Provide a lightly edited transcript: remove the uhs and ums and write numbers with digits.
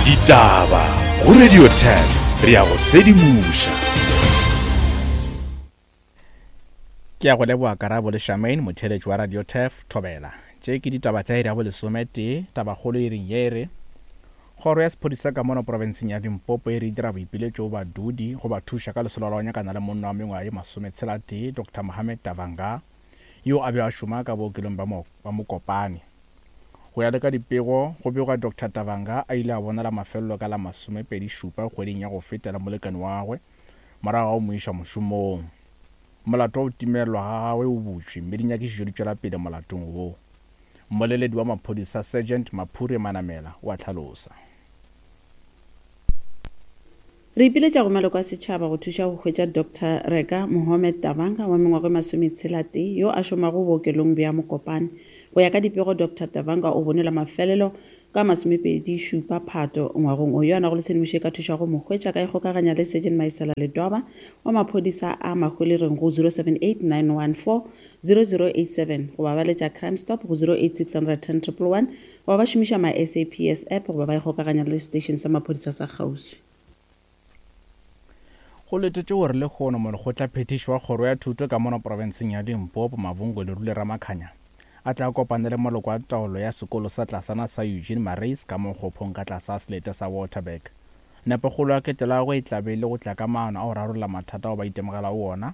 Ditaba go Radio 10 re a go sedimoša. Ke a go leboga Karabo le Charmaine, motheeletši wa Radio Turf, Thobela. Tše ke ditaba tša iri ya bolesometee, tabakgolo iring ye e re, Kgoro ya sephodisa ka mono profenseng ya Limpopo e re e dira boipiletšo go badudi go ba thuša ka lesolo la go nyakana le monna wa mengwaga ye masometshela-tee, Doctor Mohammed Tavanga, yo a bego a šoma ka bookelong bja Mokopane. Go ya le ka dipego, go begwa Doctor Tavanga a ile a bonala mafelelo ka la masomepedi-šupa kgweding ya go feta le molekane wa gagwe morago ga go mo iša mošomong. Molato wa go timelelwa ga gagwe o butšwe mme dinyakišišo di tšwela pele molatong wo. Mmoleledi wa maphodisa Sergeant Maphure Manamela o a hlalosa. Re ipiletša go maloko a setšhaba go thuša go hwetša Doctor Reka Mohomed Tabanga wa mengwaga e masometshela-tee yo a šomago bookelong bja Mokopane. Go ya ka dipego, Doctor Tabanga o bonwe la mafelelo ka masomepedi-šupa Phato ngwagong o. Yo a nago le tshedimošo e ka thušago go mo hwetša a ka ikgokaganya le Sergeant Maisela Ledwaba wa maphodisa a Mahwelereng go 078 914 0087 goba ba letša Crime Stop go 086 110 111 goba ba šomiša My SAPS app goba ba ikgokaganya le seteišene sa maphodisa sa kgauswi. Go letetšwe gore lehono molekgotlaphethiši wa kgoro ya thuto ka mono profenseng ya Limpopo, Mavhungu Lerule Ramakhanya, a tle a kopane le maloko a taolo ya sekolo sa tlasana sa Eugene Marais ka mo Kgophong ka tlasa selete sa Waterberg. Nepokgolo ya ketelo ya gagwe e tla be e le go tla ka maano a go rarolla mathata ao ba itemogelago ona.